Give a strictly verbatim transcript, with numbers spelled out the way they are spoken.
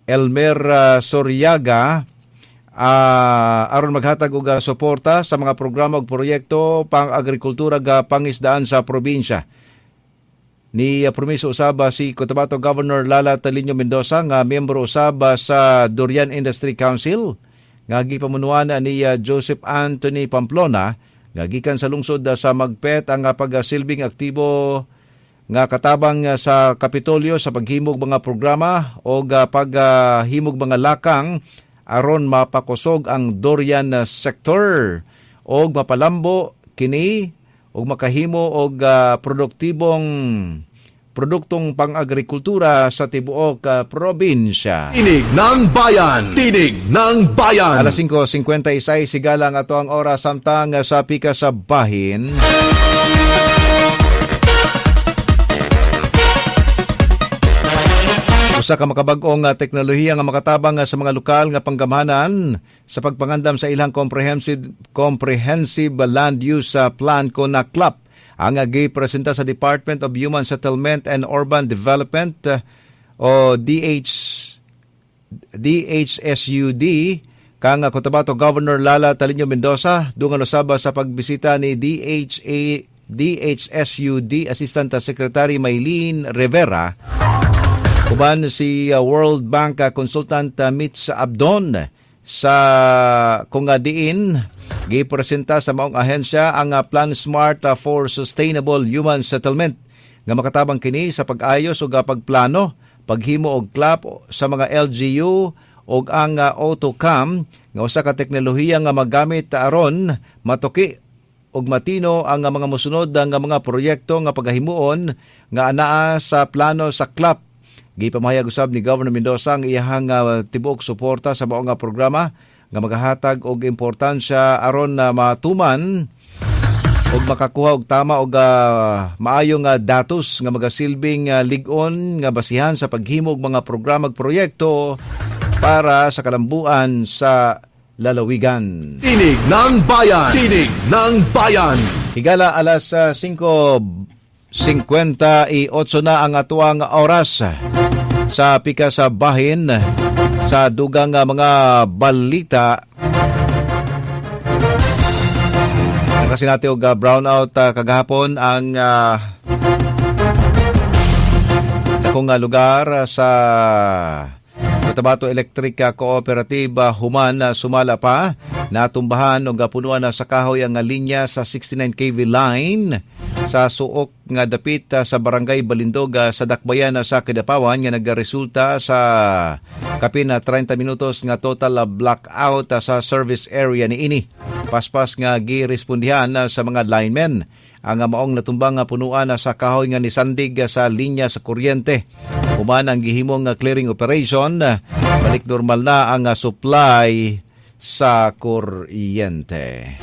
Elmer uh, Soriaga uh, aron maghatag og uh, suporta sa mga programa ug proyekto pang-agrikultura ga pangisdaan sa probinsya. Ni uh, promiso usab si Cotabato Governor Lala Taliño Mendoza nga miyembro usab sa Durian Industry Council nga gipamunuan ni uh, Joseph Anthony Pamplona nga gikan sa lungsod uh, sa Magpet ang uh, pagsilbing aktibo nga katabang sa Kapitolyo sa paghimog mga programa o paghimog mga lakang aron mapakusog ang durian sector og mapalambo kini og makahimo og uh, produktibong produktong pang-agrikultura sa tibuok uh, probinsya. Tinig ng Bayan! Tinig ng Bayan! Alas singko singkwenta y sais, sigala ang ato ang oras samtang sa pika sa bahin. Usa ka makabag-ong teknolohiya nga makatabang sa mga lokal nga panggamhanan sa pagpangandam sa ilang comprehensive comprehensive land use plan kon C L A P ang gipresenta sa Department of Human Settlement and Urban Development o D H D H S U D kang Cotabato Governor Lala Taliño Mendoza dungan usab sa pagbisita ni D H A D H S U D Assistant Secretary Maylene Rivera uban si World Bank Consultant Mitch Abdon, sa kung diin gipresenta sa maong ahensya ang Plan Smart for Sustainable Human Settlement nga makatabang kini sa pag-ayos ug pagplano, paghimo og C L A P sa mga L G U ug ang AutoCam nga usa ka teknolohiya nga magamit aron matuki ug matino ang mga mosunod nga mga proyekto nga pagahimuon nga anaa sa plano sa C L A P. Gipamahayag usab ni Governor Mendoza ang iyahang uh, tibuok suporta sa maong nga programa nga magahatag og importansya aron na uh, matuman og makakuha og tama og uh, maayong uh, datos nga magasilbing uh, lig-on nga basihan sa paghimog mga programa ug proyekto para sa kalambuan sa lalawigan. Tinig ng Bayan! Tinig ng Bayan! Higala, alas uh, singko singkwenta y otso na ang atuang oras sa pika sa bahin sa dugang mga balita. Nakasinati og brownout uh, kagahapon ang uh, dakong uh, lugar sa Cotabato Electric Cooperative human uh, sumala pa natumbahan og punuan na sa kahoy ang linya sa sixty-nine K V line sa Suok nga dapit sa Barangay Balindog sa Dakbayan sa Kidapawan nga nagresulta sa kapin na treinta minutos nga total blackout sa service area niini. Paspas nga girespondihan sa mga linemen ang maong natumbang nga punuan sa kahoy nga nisandig sa linya sa kuryente. Human ang gihimong clearing operation, balik normal na ang supply sa kuryente.